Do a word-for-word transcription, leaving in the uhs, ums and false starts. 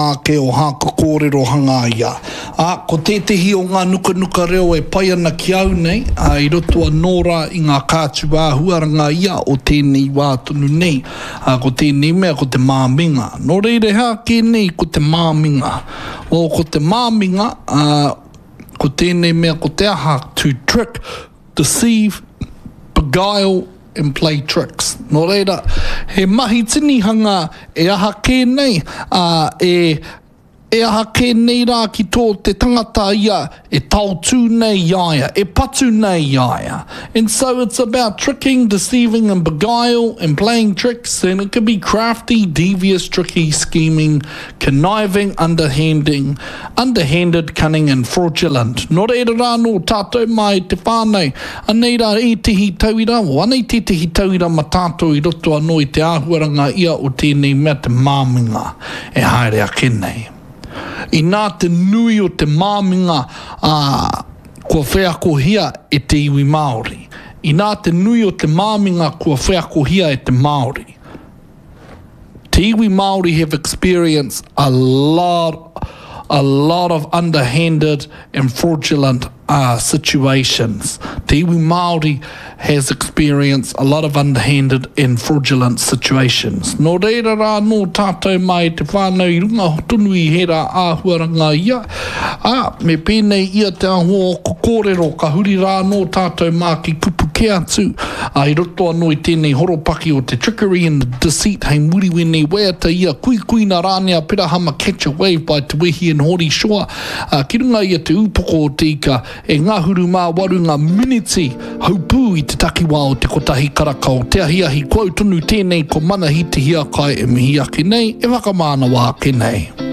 Ake o hāku kōrero hangaia. Ā, ko tētehi o ngā nukanuka reo e pai ana ki au nei, ā, i roto anō rā i ngā kātū āhuaranga ia o tēnei wā tonu nei, ā, ko tēnei mea ko te māminga. Nō reira, he aha kē nei ko te māminga? Well, ko te māminga, ā, ko tēnei mea ko te aha, to trick, deceive, beguile and play tricks. Nō reira, he mahi tinihanga e aha kē nei, ā, e, e aha kē nei rā ki tō te tangata ia e taotū nei i a ia, e patu nei i a ia. And so it's about tricking, deceiving and beguile and playing tricks and it can be crafty, devious, tricky, scheming, conniving, underhanding, underhanded, cunning and fraudulent. Nō reira rā nō tātou mā e te whānau, anei rā ētehi tauira, o anei tētehi tauira ma tātou i roto anō i te āhuaranga ia o tēnei mea te māminga e haere ake nei. Inā te nui o te māminga ā, kua wheakohia e te iwi Māori. Inā te nui o te māminga kua wheakohia e te Māori. Te iwi Māori have experienced a lot, a lot of underhanded and fraudulent uh, situations. Te iwi Māori has experienced a lot of underhanded and fraudulent situations. Nō reira rā nō tātou mai te whānau i runga tonu i hera āhuaranga ia. Ā, me pēnei ia te āhua o ko kōrero ka huri rā nō tātou mā ki kupu kē atu. Ā, i roto anō i tēnei horopaki o te trickery and the deceit hei muri wēnei waiata ia kuikuina rānei a Perahama Catch a Wave by Te Wehi and Hori Shaw. Ā, ki runga ia te ūpoko o te ika e ngahuru mā waru ngā miniti haupū i te takiwā o te kotahi karaka o te ahiahi. Ko au tonu tēnei ko Manahi Te Hiakai e mihi ake nei, e whakamānawa ake nei.